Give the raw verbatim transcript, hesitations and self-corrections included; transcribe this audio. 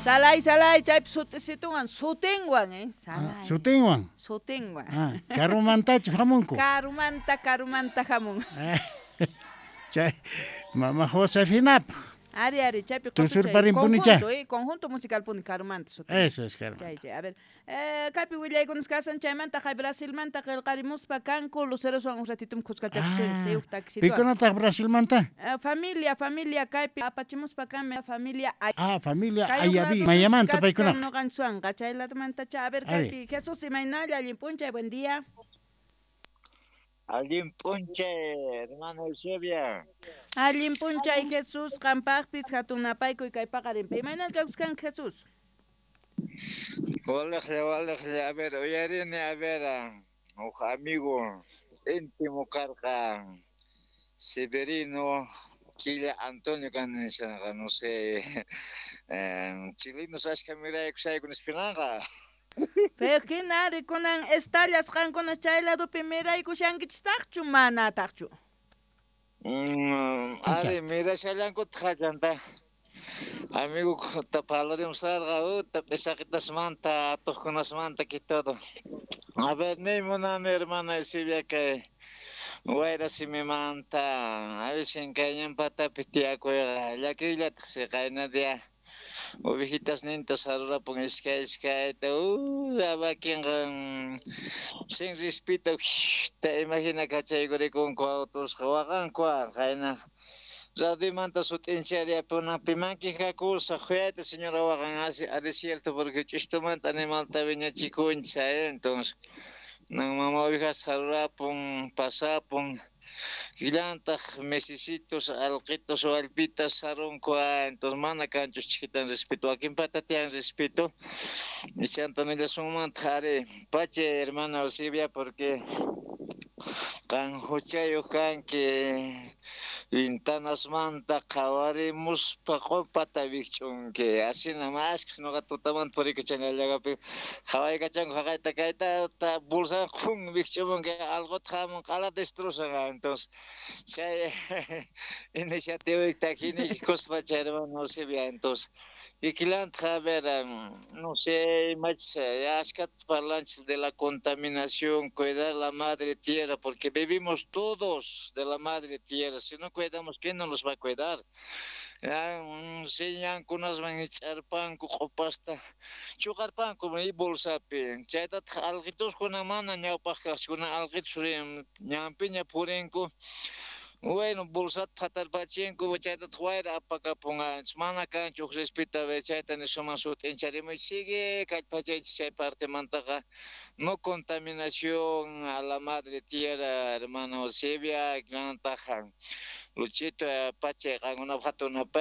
Salay, salay, chaypi sutisituwan, sutinwan, eh? Ah, Salay. sutinwan. Sutinwan. Ah, karumantachu hamunku. Karumanta, karumanta hamun. Chay mama Josefinapaj. Ari, ari, chaypi Tusurparinpunicha. Conjunto, eh, conjunto musical puni karumanta sutin. Eso es karumanta. Chay, chay, a ver. Eh, kaypi willaykunas kasan chaymanta hay Brasilmanta qillqarimuspa kanku Luceroswan un ratitum khuskachakusun Ah, taxituan. Pikunataq Brasilmanta? Eh, familia, familia kaypi apachimuspa kanmi familia ay Ah, familia Kay Ayaví, uqladupi Mayamanta kachkan paykunaqa. Noqanchwanqa chay ladomanta a ver Ari. kaypi Jesús imaynalla allin p'unchay, buen día. Allin p'unchay, hermano Eusebia. Allin p'unchay Jesús, qampaqpis hatun napaykuy kay paqarinpi. Imaynalla kawskan Jesús? Walejlla, walejlla, a ver, uyarini, a ver, huk amigo íntimo karqa, Severino Quilla Antonio kan nishanqa, no sé, eh, chilenos ashka miraykushayku nispinanqa. Pero hina ari kunan estallas qankuna chay ladopi miraykushankichistaqchu manataqchu? Mm, ari mirashallankutaq hachanta. Amigo ta parlarimsarqa, uta p'ishaqitasmanta, atuqkunasmanta que todo. A ver, niy munani hermana Eusebia kay wayra simimanta, a veces kay ñanpatapi tiyakuyqa llakiyllataq siqayna dia. Ovejitas ninta sarurapun iskay iskayta, uh, wakinqa sin respeto, te imagina kachaykurikunku autusqa waqanku qayna. Radiomanta sut'inchariapuna pimanki hakusa khuyayta señora waqan así ari cierto porque ch'ishtumanta animalta viñachikuncha, eh, entonces nan mama ovejas sarurapun pasapun Llantaq mesisitos, alqitos, wallpitas sarunku, entonces mana kanchus chiquitan respeto, wakinpata tiyan respeto. Chanta nillasunmantaq ari pacha hermana Eusebia porque qan huchayuq kanki ventanasmanta qhawarimuspa q'upata wikch'unki asina mashkhas nuqa tutamanta purikachan allagapi qhawaykachanku haqayta kayta ta bolsawan qhun wikch'umunki alquta hamun q'alata destrozan entonces chay iniciativa takiniykuspa chay hermano Eusebia entonces ikillantaq a ver no sé imachus ashkata parlanchis de la contaminación, cuidar la madre tierra porque vivimos todos de la madre tierra, si no cuidamos, ¿quién nos los va a cuidar? Ñankunasman ich'arpanku q'upasta chuqarpanku y bolsapi chaytataq alqituskuna mana ñawpaq kaqchukuna alqitus ñanpiña purinku bueno bolsata phatarpachinku chaytataq wayra apakapun mana kanchu huk respeto a ver chayta nisuman sut'incharimuy sigue kallpachaychis chay partemantaqa no contaminación a la madre tierra hermano Eusebia llantaq Luchito pachay qankunapaq hatun napay.